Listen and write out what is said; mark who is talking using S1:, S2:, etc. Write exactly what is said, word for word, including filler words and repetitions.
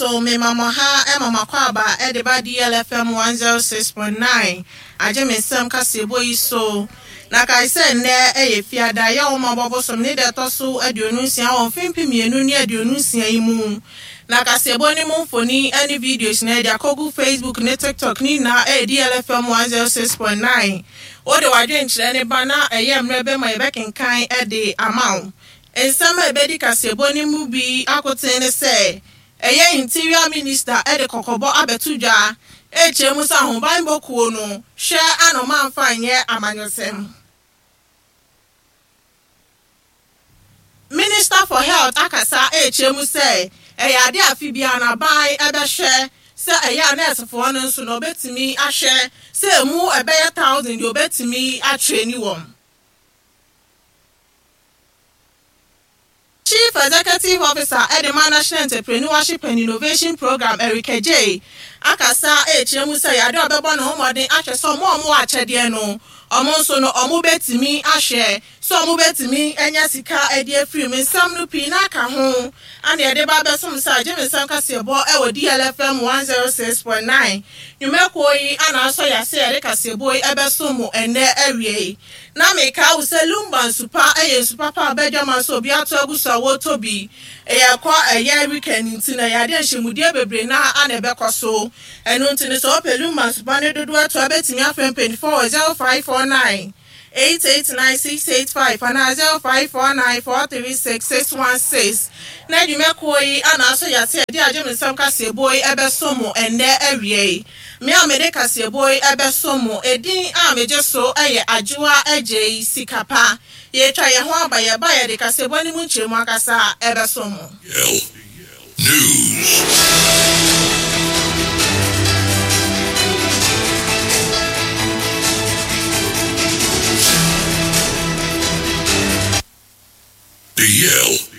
S1: So me mama ha e mama kwaba e de ba D L F M one oh six point nine agye me nsɛm kaseɛbɔ yi so na kae sɛ nnɛ ɛyɛ fiada yɛ wo mabɔbɔ som ne deɛ ɛtɔ so aduonu nsia wɔ mfimfini mmienu ne aduonu nsia yi mu na kaseɛbɔ ne mu mfoni ne videos na ɛde akɔgu Facebook ne TikTok ne nyinaa ɛyɛ D L F M one oh six point nine. Wode w'adwenkyerɛ ne ba na ɛyɛ mmerɛ bɛma yɛbɛkenkan ɛde ama wo. Nsɛm a ɛbɛdi kaseɛbɔ ne mu bi akoten ne sɛ ɛyɛ Interior Minister ɛde kɔkɔbɔ abɛto dwa ɛkyerɛ mu sɛ ahobanbɔ kuo no hwɛ anoma mfa nyɛ amanyɔsɛm. Minister for Health akasa ɛkyerɛ mu sɛ ɛyɛ ade afi bia na ban ɛbɛhwɛ sɛ ɛyɛ anɛɛsefoɔ no nso na ɔbɛtumi ahwɛ sɛ emu ɛbɛyɛ thousand deɛ ɔbɛtumi atwerɛ ni wɔm. Chief Executive Officer Edema National Entrepreneurship and Innovation Program Eric J. Akasa ɛkyerɛ mu sɛ yɛade ɔbɛbɔ ne ho mmɔden ahwɛ sɛ ɔmo a ɔmo wɔ akyɛdeɛ no ɔmo nso no ɔmo bɛtumi ahwɛ sɛ ɔmo bɛtumi anya sika ɛde afiri mu. Nsɛm no pii na aka ho ana yɛde ba bɛsom sɛ agye me nsɛm kaseɛbɔ ɛwɔ D L F M one oh six point nine. Nnwumakuo yi ana asɔ yɛase yɛde kaseɛbɔ yi ɛbɛsom mo ɛnnɛ awie yi. Na meka wo sɛ Lumba nsupa ɛyɛ nsupa pa a bɛdwama so obi ato agu so a wɔtɔ bi. Ɛyɛ kɔ ɛyɛ weekend nti na yɛade nhyɛmudie bebree na ana ɛbɛkɔ so. Ɛno nti no sɛ wopɛ Lumba nsupa ne dodoɔ ato a bɛtumi afrɛ mpanyinfoɔ wɔ zero five four nine eight eight nine six eight five anaa zero five four nine four three six six one six. Na nnwumakuo yi ana asɔ yɛase yɛde agye me nsɛm kaseɛbɔ yi ɛbɛso mo ɛnnɛ awie yi. Me a mede kaseɛbɔ yi ɛbɛso mo edin a megye so ɛyɛ Adwoa Agyei Sikapa. Yɛtwa yɛn ho aba yɛba yɛde kaseɛbɔ ne mu nkyerɛmu ankasa ɛbɛso mo.
S2: News. D L